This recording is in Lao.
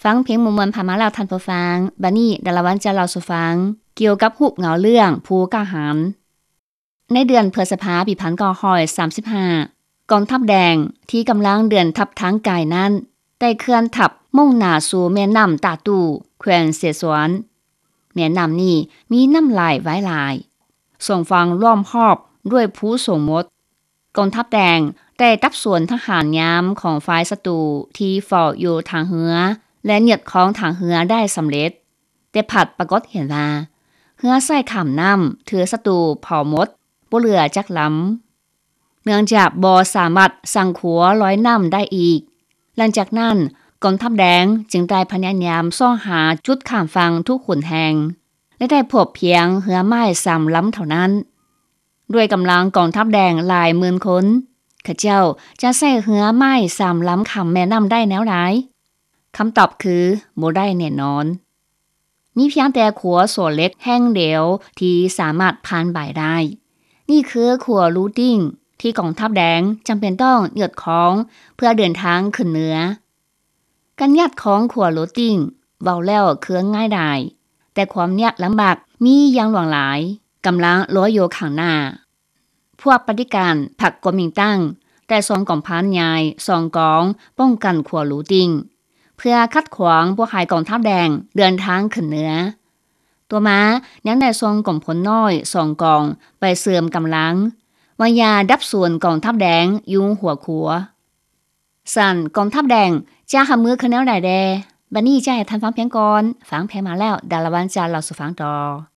ຟັງເພງມ່ວນໆຜ່ານມາແລ້ວທ່ານຜູ້ຟັງ, ບັດນີ້ດາລາວັນຈະເລົ່າສູ່ຟັງກ່ຽວກັບຮູບເງົາເລື່ອງຜູ້ກ້າຫານ. ໃນເດືອນພຶດສະພາປີພັນເກົ້າຮ້ອຍສາມສິບຫ້າ ກອງທັບແດງທີ່ກຳລັງເດີນທັບທາງໄກນັ້ນ ໄດ້ເຄື່ອນທັບມຸ່ງໜ້າສູ່ແມ່ນ້ຳຕາຕູ້ ແຂວງເສສວນ. ແມ່ນ້ຳນີ້ມີນ້ຳໄຫຼວາຍຫຼາຍ, ສອງຝັ່ງລ້ອມຮອບດ້ວຍພູສູງໝົດ. ກອງທັບແດງໄດ້ດັບສວນທະຫານຍາມຂອງຝ່າຍສັດຕູທີ່ເຝົ້າຢູ່ທ່າເຮືອ ແລະ ຍຶດຄອງທ່າເຮືອໄດ້ສຳເລັດ, ແຕ່ພັດປາກົດເຫັນວ່າ ເຮືອໃຊ້ຂ້າມນ້ຳຖືກສັດຕູເຜົາໝົດ ບໍ່ເຫຼືອຈັກລຳ. ເນື່ອງຈາກບໍ່ສາມາດສ້າງຂົວລອຍນ້ຳໄດ້ອີກ, ຫຼັງຈາກນັ້ນ ກອງທັບແດງຈຶ່ງໄດ້ພະຍາຍາມຊອກຫາຈຸດຂ້າມຝັ່ງທຸກຫົນແຫ່ງ ແລະ ໄດ້ພົບພຽງເຮືອໄມ້ສາມລຳເທົ່ານັ້ນ. ດ້ວຍກຳລັງກອງທັບແດງຫຼາຍໝື່ນຄົນ, ເຂົາເຈົ້າຈະໃຊ້ເຮືອໄມ້ສາມລຳຂ້າມແມ່ນ້ຳໄດ້ແນວໃດ? ຄຳຕອບຄື ບໍ່ໄດ້ແນ່ນອນ. ມີພຽງແຕ່ຂົວໂສ້ເຫຼັກແຫ່ງດຽວທີ່ສາມາດຜ່ານໄປໄດ້. ນີ້ຄືຂົວລູຕິງ ທີ່ກອງທັບແດງຈຳເປັນຕ້ອງຍືດຄອງເພື່ອເດີນທາງຂຶ້ນເໜືອ. ການຍາດຂອງຂົວລູຕິງ ເວົ້າແລ້ວຄືງ່າຍດາຍ, ແຕ່ຄວາມຍາກລຳບາກມີຢ່າງຫຼວງຫຼາຍ ກຳລັງລໍຢູ່ຂ້າງໜ້າ. ພວກປະຕິການພັກກົວມິງຕັງ ໄດ້ສົ່ງກອງພັນໃຫຍ່ສອງກອງປ້ອງກັນຂົວລູຕິງ ເພື່ອຂັດຂວາງບໍ່ໃຫ້ກອງທັບແດງເດີນທາງຂຶ້ນເໜືອ. ຕໍ່ມາຍັງໄດ້ສົ່ງກອງພົນນ້ອຍສອງກອງໄປເສີມກຳລັງ ໄວ້ຢາດັບສູນກອງທັບແດງຢູ່ຫົວຂົວ. ຊັ້ນກອງທັບແດງຈະຮັບມືຄືແນວໃດແດ່? ບັດນີ້ຈະໃຫ້ທ່ານຟັງພຽງກ່ອນ. ຟັງພຽງມາແລ້ວ ດາລາວັນຈະເລົ່າສູ່ຟັງຕໍ່.